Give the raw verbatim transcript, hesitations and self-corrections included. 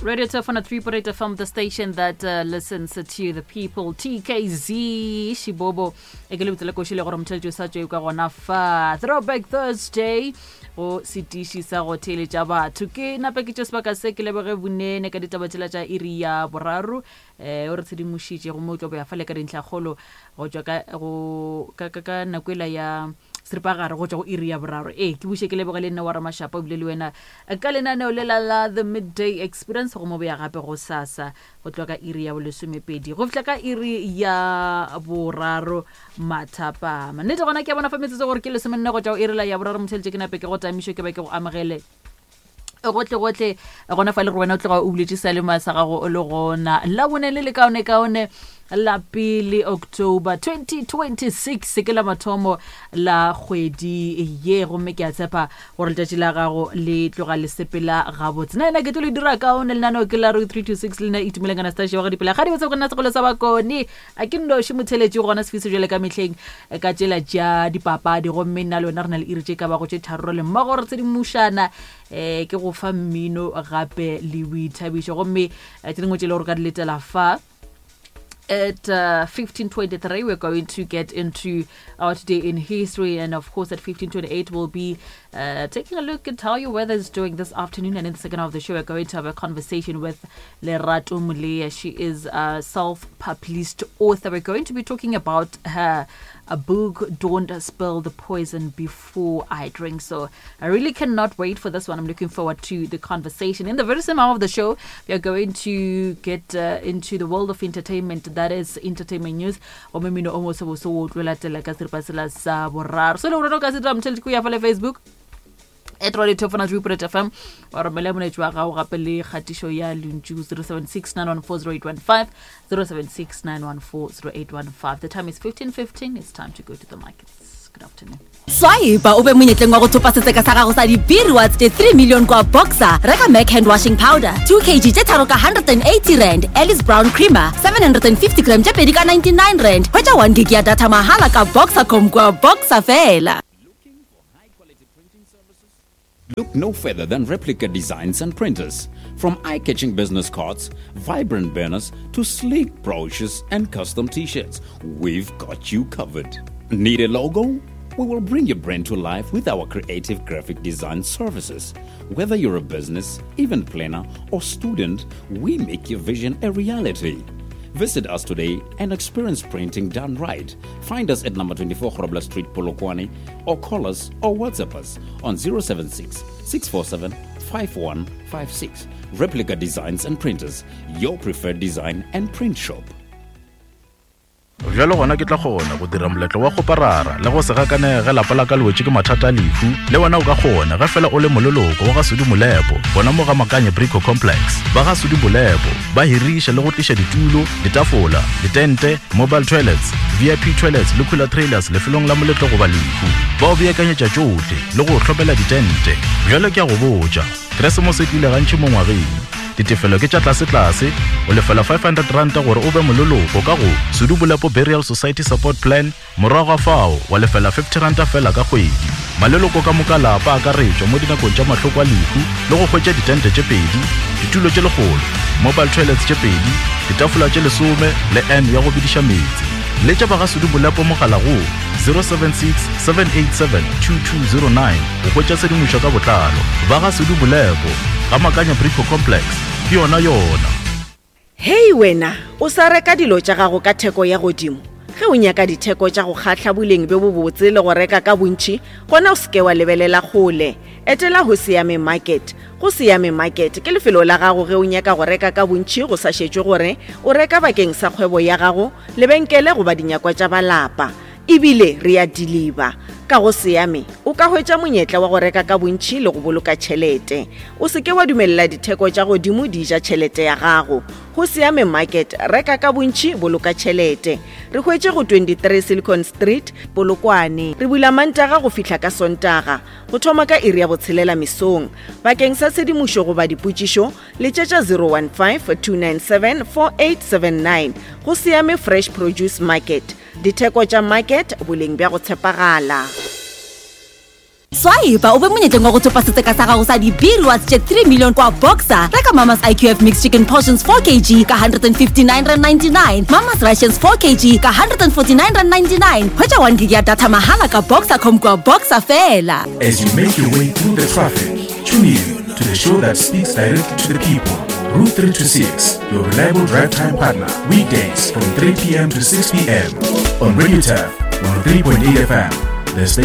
Radio Tefana three point eight F M, the station that uh, listens to the people. T K Z Shibobo. E ke le botsela koši le gore motheletši o sa tšwe ka gona fa. Throwback Thursday go setiši sa go theeletša batho. Ke nape ke tše sebaka se ke leboge bonene ka ditaba tšela tša iri ya boraro. Eh, o re tshedimošitše gomme o tlo boya fale ka dintlhakgolo go tšwa ka, go, ka, ka, ka nako ela ya seripagare go tšwa go iri ya boraro. Ee, ke buše ke leboge le nna wa Ramashapa ebile le wena ka lenaneo le la la The Midday Experience go mo boya gape go sasa go tloga ka iri ya bolesomepedi go fihla ka iri ya boraro mathapama. Nnete gona ke a bona fa metsotso gore ke lesomenne go tšwa go iri la ya boraro motheletše ke nape ke go tamišo ke ba ke go amogele gotle gotle gona fa le gore wena o tloga o buletše seyalemoya sa gago o le gona la bone le le kaone kaone la pele October twenty twenty-six ke la mathomo la kgwedi ye gomme ke a tshepa gore letšatši la gago le tloga le sepela gabotse. Nna ena ke tlo le dira kaone lenaneo ke la three two six le nna Itumeleng Anastasia wa ga dipela ga di botse go nna sekgolo sa bakone a ke nnoši motheletši gona sefiso jwale ka mehleng ka tšela tša dipapadi gomme nna le wena re na le iri tše ka bago tše tharo le mmogo re tshedimošana eh ke go fa mmino gape le boithabišo gomme tše dingwe tše le gore ka di letela fa. At uh, fifteen twenty-three, we're going to get into our Today in History. And of course, at fifteen twenty-eight, we'll be uh, taking a look at how your weather is doing this afternoon. And in the second half of the show, we're going to have a conversation with Lerato Mulea. She is a self-published author. We're going to be talking about her a book, Don't Spill the Poison Before I Drink. So I really cannot wait for this one. I'm looking forward to the conversation. In the very same hour of the show, we are going to get uh, into the world of entertainment. That is entertainment news. Gomme mmino o mosebose o tlo latela ka seripa sela sa boraro. So le gore o ka se dira motheletši ko ya fa le Facebook at Radio Tefana three point eight F M wa romela molaetša wa gago gape le kgatišo ya lentšu zero seven six nine one four zero eight one five, zero seven six nine one four zero eight one five. The time is fifteen fifteen. It's time to go to the markets. Good afternoon. Swipe o be monyetleng wa go thopa setseka sa gago sa di-B rewards tše three million kwa Boxer. Reka Mac hand washing powder two kilograms tše tharo ka one hundred eighty rand, Alice Brown creamer seven hundred fifty gram tše pedi ka ninety-nine rand. Hwetša one gig ya data mahala ka Boxercom kwa Boxer fela. Look no further than Replica Designs and Printers. From eye-catching business cards, vibrant banners, to sleek brochures and custom t-shirts, we've got you covered. Need a logo? We will bring your brand to life with our creative graphic design services. Whether you're a business, event planner, or student, we make your vision a reality. Visit us today and experience printing done right. Find us at number twenty-four Grobler Street, Polokwane, or call us or WhatsApp us on zero seven six, six four seven, five one five six. Replica Designs and Printers, your preferred design and print shop. Bjalo gona ke tla kgona go dira moletlo wa go parara le go se gakanege lapa la ka le wetše ke mathata a lehu. Le wena o ka kgona ge fela o le moleloko wa ga Sudi Molepo gona mo ga Makanye Brico Complex. Ba ga Sudi Molepo ba hiriša le go tliša ditulo, ditafola, ditente, mobile toilets, V I P toilets le cooler trailers lefelong la moletlo goba lehu. Ba o beakanyetša tšohle le go hlopela ditente. Bjalo ke a go botša, Keresemose e tlile gantši mo ngwageng. Ditefelo ke tša tlase-tlase, o lefela five hundred rand gore o be moleloko ka go Sudi Molepo Burial Society Support Plan, morago ga fao wa lefela fifty rand fela ka kgwedi. Maleloko ka moka lapa a akaretšwa mo dinakong tša mahloko a lehu le go hwetša ditente tše pedi, ditulo tše lekgolo, mobile toilets tše pedi, ditafola tše lesome le N ya go bidiša meetse. Letša ba ga Sudi Molepo mogala go zero seven six, seven eight seven, two two zero nine go hwetša tshedimošo ka botlalo. Ba ga Sudi Molepo ga Makanya Brico Complex ke yona yona. Hei wena, o sa reka dilo tša gago ka theko ya godimo. Ge o nyaka ditheko tša go kgahla boleng bjo bobotse le go reka ka bontši, gona o seke wa lebelela kgole. Etela go Siame Market. Go Siame Market ke lefelo la gago ge o nyaka go reka ka bontši go sa šetšwe gore o reka bakeng sa kgwebo ya gago, lebenkele goba dinyakwa tša ba lapa. Ebile re a deliver. Ka go Siame o ka hwetša monyetla wa go reka ka bontši le go boloka tšhelete. O seke wa dumelela ditheko tša godimo di ja tšhelete ya gago. Go Siame Market, reka ka bontši, boloka tšhelete. Re hwetše go twenty-three Silicon Street, Polokwane. Re bula Mantaga go fihla ka Sontaga, go thoma ka iri ya botshelela mesong. Bakeng sa tshedimošo goba dipotšišo, letšetša zero one five, two nine seven, four eight seven nine. Go Siame Fresh Produce Market. Ditheko tša market, boleng bja go tshepagala. Swipe o be monyetleng wa go thopa setseka sa gago sa di-B-rewards tše three million kwa Boxer. Reka Mama's I Q F mixed chicken portions four kilograms ka one hundred fifty-nine rand ninety-nine, Mama's Rations four kilograms ka one hundred forty-nine rand ninety-nine. Hwetša one gig ya data mahala ka Boxer com kwa Boxer fela. As you make your way through the traffic, tune in to the show that speaks directly to the people. Route three two six, your reliable drive time partner. Weekdays from three p m to six p m on Radio Turf one oh three point eight F M, the station.